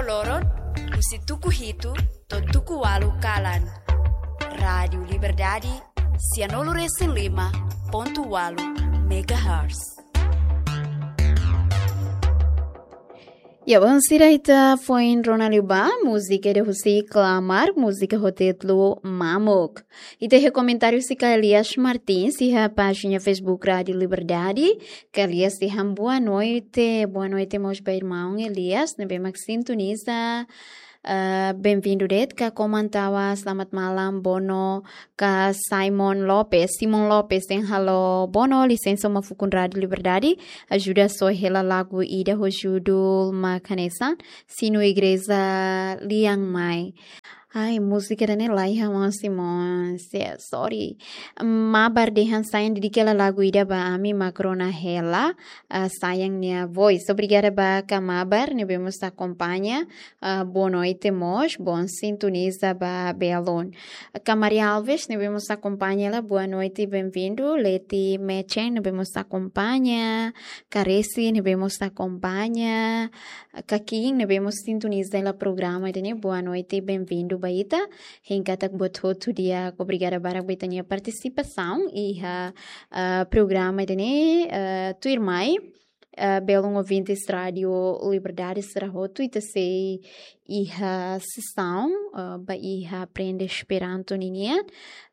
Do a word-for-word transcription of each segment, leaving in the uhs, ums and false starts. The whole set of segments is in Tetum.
Loron, husi tuku hitu to'o tuku ualu kalan. Rádiu Liberdade, sianulu resin lima pontu ualu megahertz. Ya, bom, sira ita foin rona liu ba múzika ida husi Klamar, múzika ho títulu Mamuk. Ita iha komentáriu husi Kak Elias Martins iha pájina Facebook Rádiu Liberdade. Kak Elias dehan boa noite, boa noite mós ba irmaun Elias, ne'ebé mak sintoniza. Ah, bem-vindo de'it, Kak Koman Tawa, selamat malam, Bono, Kak Simon Lopes, Simon Lopes dehan halo, Bono, lisensa, uma fukun Rádiu Liberdade, ajuda soe hela lagu ida ho judul mak hanesan, Sinu Igreja Lian Mai. Ai, múzika ida-ne'e laiha, maun Simon, se-, sorry. Mabar dehan sayang, dedika hela lagu ida ba ami mak rona hela, ah, sayang nia voice. Obrigada ba Kak Mabar, ne'ebé mós akompaña. Ah, boa noite mós, bom sintoniza ba belun. Kak Maria Alves, ne'ebé mós akompaña hela, boa noite, bem-vindo. Leti Mechen, ne'ebé mós akompaña. Kak Resi, ne'ebé mós akompaña. Kak Kim, ne'ebé mós sintoniza hela programa ida-ne'e, boa noite, bem-vindo ba ita. Hein katak buat hotu di'ak, obrigada barak ba ita-nia partisipasaun iha, ah, programa ida-ne'e, ah, tuirmai. Ah, belun ouvintes Rádiu Liberdade sira hotu, ita sei iha sesaun, ah, ba iha aprende Esperanto ninian.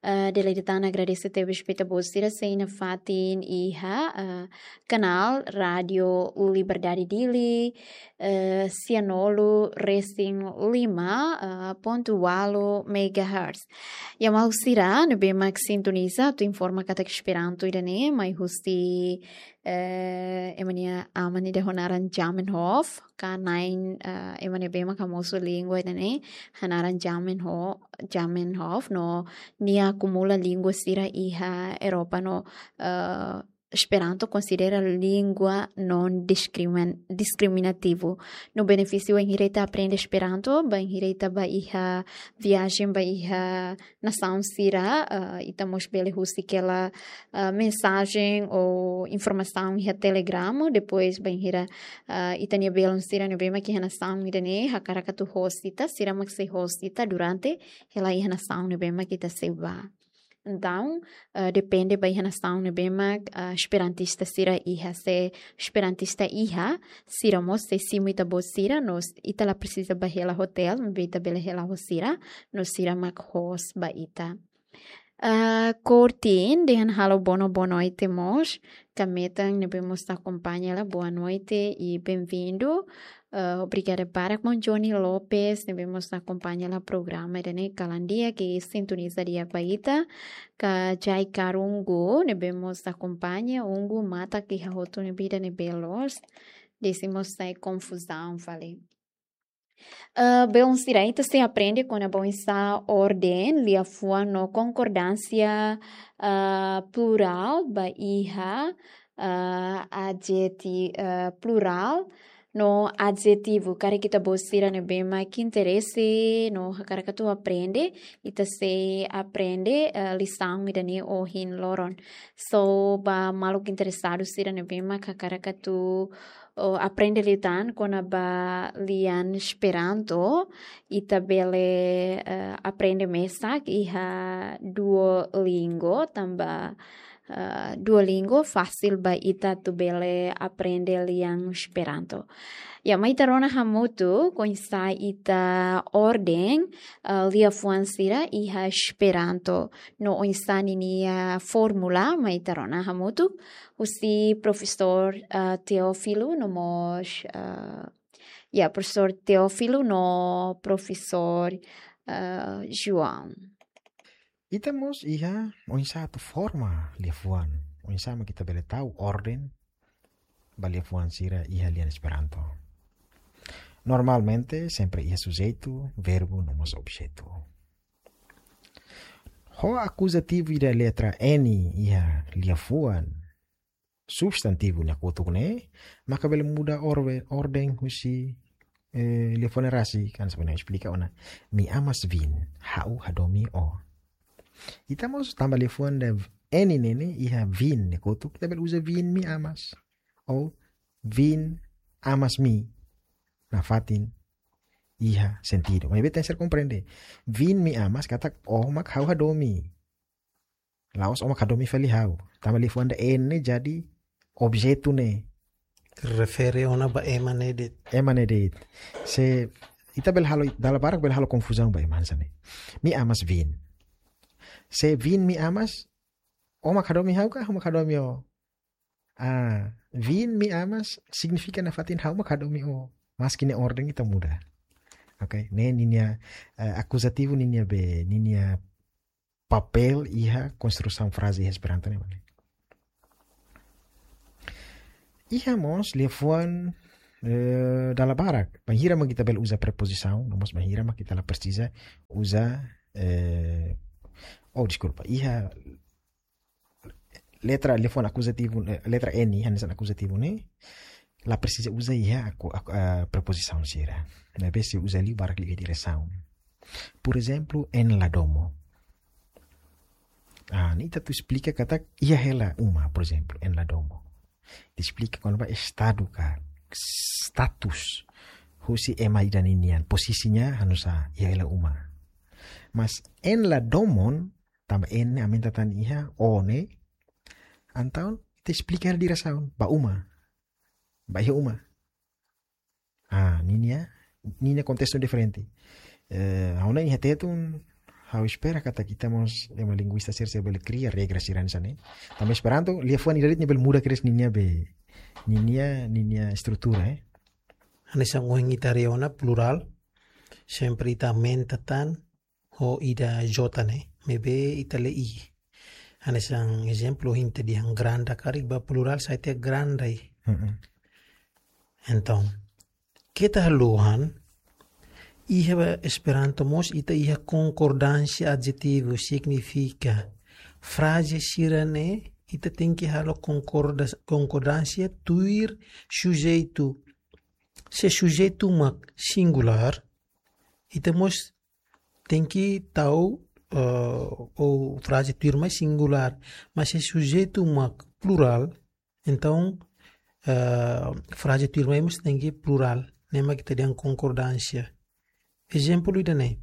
Ah, dala ida tan agradese tebes ba ita-boot sira sei nafatin iha, ah, kanál Rádiu Liberdade Dili, eh, sianulu resin lima, ah, pontu ualu megahertz. Ya, maluk sira ne'ebé mak sintoniza, atu informa katak Esperanto ida-ne'e mai husi, eh, ema nia aman ida ho naran Zamenhof, ka na'in, eh, ema ne'ebé mak hamosu língua ida-ne'e, ho naran Zamenho-, Zamenhof, no nia akumula língua sira iha Europa no, eh, Esperanto konsidera língua non diskrimin-, diskriminativu. No benefísiu bainhira ita aprende Esperanto, bainhira ita bá iha viajen, bá iha nasaun sira, ah, ita mós bele husik hela, ah, mensajen ou informasaun iha Telegram, depois bainhira, ah, ita-nia belun sira ne'ebé mak iha nasaun ida-ne'e hakarak atu host ita, sira mak sei host ita durante hela iha nasaun ne'ebé mak ita sei bá. Entaun, ah, depende ba iha nasaun ne'ebé mak, ah, esperantista sira iha, se esperantista iha, sira mós sei simu ita-boot sira, no s-, ita la presiza bá hela hotel, maibé ita bele hela ho sira, no sira mak host ba ita. Ah, Kortin, dehan halo Bono, boa noite mós. Kak Metan ne'ebé mós akompaña hela, boa noite e bem-vindo. Ah, obrigada barak, maun Johnny Lopes, ne'ebé mós akompaña hela programa ida-ne'e, kalan di'ak, sintoniza di'ak ba ita. Kak Jai Karungu, ne'ebé mós akompaña, ungu mata iha hotu ne'ebé ida ne'ebé loos. Desi mós sai konfuzaun fali. Ah, belun sira, ita sei aprende kona-ba oinsá orden liafuan no konkordánsia, ah, plurál ba iha, ah, adjeti-, ah, plurál no adjetivu. Karik ita-boot sira ne'ebé mak interese no hakarak atu aprende, ita sei aprende, ah, lisaun ida-ne'e ohin loron. So, ba maluk interesadu sira ne'ebé mak hakarak atu, oh, aprende liután kona-ba lian Esperanto, ita bele, eh, aprende mesak iha Duolingo, tanba, eh, Duolingo fasil ba ita atu bele aprende lian Esperanto. Ya, mai ita rona hamutuk oinsá ita orden, eh, liafuan sira iha Esperanto. No oinsá ninia fórmula, mai ita rona hamutuk husi profesór, ah, Teófilo, no mós, ah, ya, profesór Teófilo, no profesór, ah, João. Ita mós iha oinsá atu forma liafuan, oinsá mak ita bele tau orden ba liafuan sira iha lian Esperanto. Normalmente, sempre iha sujeitu, verbu, no mós objetu. Ho akuzativu ida letra N iha liafuan substantivu nia kotuk ne'e, maka bele muda orwe-, orden husi, eh, liafuan ne'e rasik, kan sebenarnya esplika ona. Mi amas vin, ha'u hadomi ó. Ita mós tanba liafuan ida N ne'e iha vin nia kotuk, ita bele uza vin mi amas. Ou vin amas mi. Nafatin. iha sentidu. Maibé tenke ser komprende. Vin mi amas katak ó mak ha'u hadomi. La'ós ó mak hadomi fali ha'u. Tanba liafuan ida N ne'e jadi objetu ne'e. Refere ona ba ema ne'e de'it. Ema ne'e de'it. Se ita bele halo, dala barak bele halo konfuzaun ba ema hanesan ne'e. Mi amas Vin. Se Vin mi amas, ó mak hadomi ha'u ka, ha'u mak hadomi ó? Ah, Vin mi amas signifika nafatin ha'u mak hadomi ó. Maski nia orden ita muda. Oke, ne'e ninia, eh, akuzativu ninia be, ninia papél iha konstrusaun fraze iha Esperanto ne'e mak ne'e. Iha mós liafuan, eh, dala barak. Bainhira mak ita bele uza prepozisaun, no mós bainhira mak ita la presiza uza, eh, oh, deskulpa, iha letra liafuan akuzativu, eh, letra N, hanesan akuzativu ne'e, la presiza uza iha aku, aku, eh, prepozisaun sira. Maibé sei uza liu barak liu iha diresaun. Por ezemplu, en la domo. Ah, ne'e ita atu esplika katak iha hela uma, por ezemplu, en la domo. Ita esplika kona-ba estadu ka status husi ema ida ninian, pozisiña hanesan iha hela uma. Mas en la domon, tanba en ne'e aumenta tan iha ó ne'e, entaun ita esplika hela diresaun, ba uma. Ba iha uma. Ah, ninia, ninia kontestu diferente. Eh, ha'u hanoin iha Tetun, ha'u espera katak ita mós ema linguista sira sei bele kria regra sira hanesan ne'e. Tanba Esperanto, liafuan ida de'it nia bele muda kedas ninia be, ninia, ninia estrutura, eh. Hanesan ohin ita haree ona plurál, sempre ita aumenta tan ho ida J ne'e, maibé ita lee I. Hanesan ezemplu, ohin ita dehan granda karik ba plurál sai tiha grandai. Mm-mm. Entaun, keta haluha, iha Esperanto mós ita iha konkordánsia adjetivu, signifika fraze sira-ne'e ita tenke halo konkorda-, konkordánsia tuir sujeitu. Se sujeitu mak singulár, ita mós tenke tau, eh, ou fraze tuirmai singulár. Mas se sujeitu mak plurál, entaun, eh, fraze tuirmai mós tenke plurál. Ne'e mak ita dehan konkordánsia. Ezemplu ida-ne'e.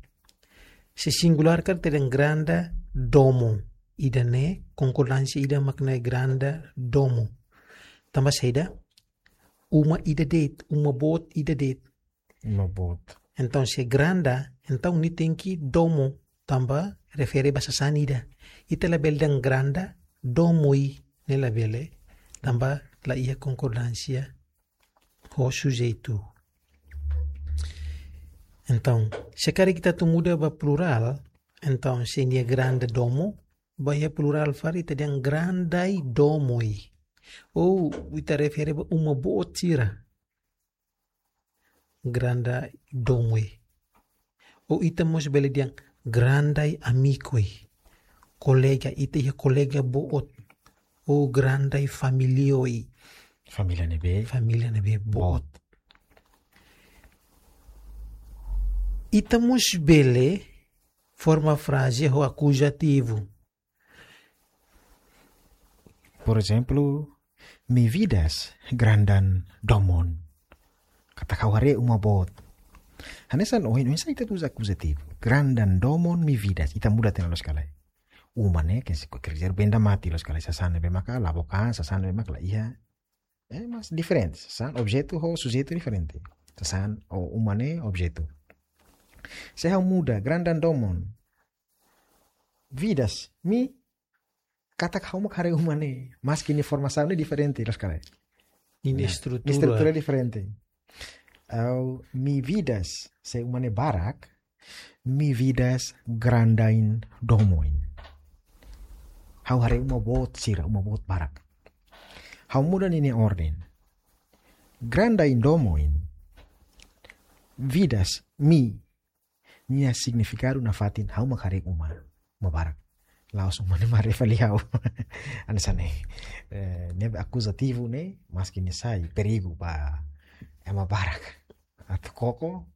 Se singulár karik ita dehan granda domo. Ida-ne'e konkordánsia ida mak ne'e granda domo. Tanba saida? Uma ida de'it, uma boot ida de'it. Uma boot. Entaun, se granda, entaun nia tenke domo, tanba refere ba sasán ida. Ita labele dehan granda domoi, ne'e labele, tanba la iha konkordánsia ho sujeitu. Entaun, se karik ita atu muda ba plurál, entaun, se nia granda domo, ba iha plurál fali ita dehan grandai domoi. Ou ita refere ba uma boot sira. Grandai domoi. Ou ita mós bele dehan grandai amikoi. Kolega, ita iha kolega boot. Ou grandai familioi. Família ne'ebé. Família ne'ebé boot. Boot. Ita mós bele forma fraze ho akuzativu. Por ezemplu, mi vidas grandan domon. Katak ha'u haree uma boot. Hanesan ohin, oinsá ita uza akuzativu. Grandan domon mi vidas. Ita muda tiha ona loos ka lae. Uma ne'e, ke se ko kerja benda mati loos ka lae. Sasán ne'ebé maka la book an, sasán ne'ebé maka la iha. Eh, mas diferente. Sasán objetu ho sujeitu diferente. Sasán ou uma ne'e objetu. Se ha'u muda, grandan domon. Vidas, mi, katak ha'u mak haree uma ne'e, maski nia formasaun ne'e diferente, loos ka lae? Ninia estrutura. Nia estrutura diferente. Ou mi vidas, se uma ne'e barak, mi vidas grandain domoin. Ha'u haree uma boot sira, uma boot barak. Ha'u muda ninia orden. Grandain domoin. Vidas, mi, nia signifikadu nafatin ha'u mak haree uma, uma barak. La'ós uma ne'e mak haree fali ha'u. Hanesan ne'e. Eh, ne'e akuzativu ne'e, maski nia sai perigu ba ema barak. Atu koko,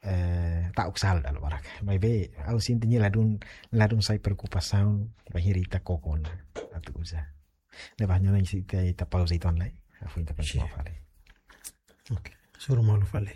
eh, ta'uk sala dala barak. Maibé, ha'u sente nia ladún, ladún sai preokupasaun, bainhira ita koko ona. Atu uza. Ne'ebé ha'u hanoin ita, ita pauza uitoan lai. Depois ita kontinua fali. Oke, hasoru malu fali.